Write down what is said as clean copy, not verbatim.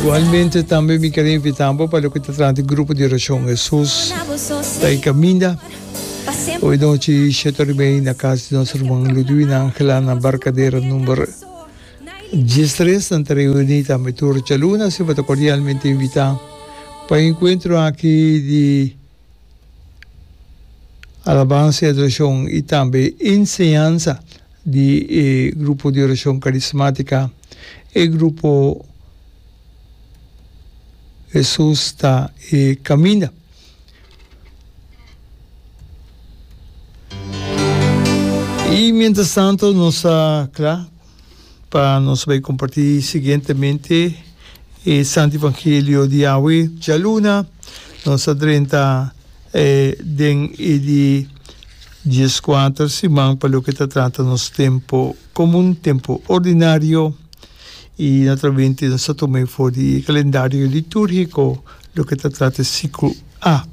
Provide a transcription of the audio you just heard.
Igualmente tambe mi ker invita bo pa loke ta trata di grupo di oracion Hesus ta e caminda. Hoy nochi shete ora y mei na cas di nos ruman Ludwina Angela na Barcadera number 13 nan ta reuni tambe tur djaluna asina bo ta cordialmente invita pa e encuentro aki di Alabansa y adoracion y tambe enseñansa di e grupo di oracion carismatica, e grupo Hesus ta e caminda. Y mientras tanto nos ta cla pa nos bay comparti siguientemente e Santo Evangelio di awe djaluna. Nos a drenta den e di dieskuater siman pa loke ta trata nos tempo komun, tempo ordinario, i naturalmente nos ta tuma e for di e kalendario litúrgiko loke ta trata e siklo A.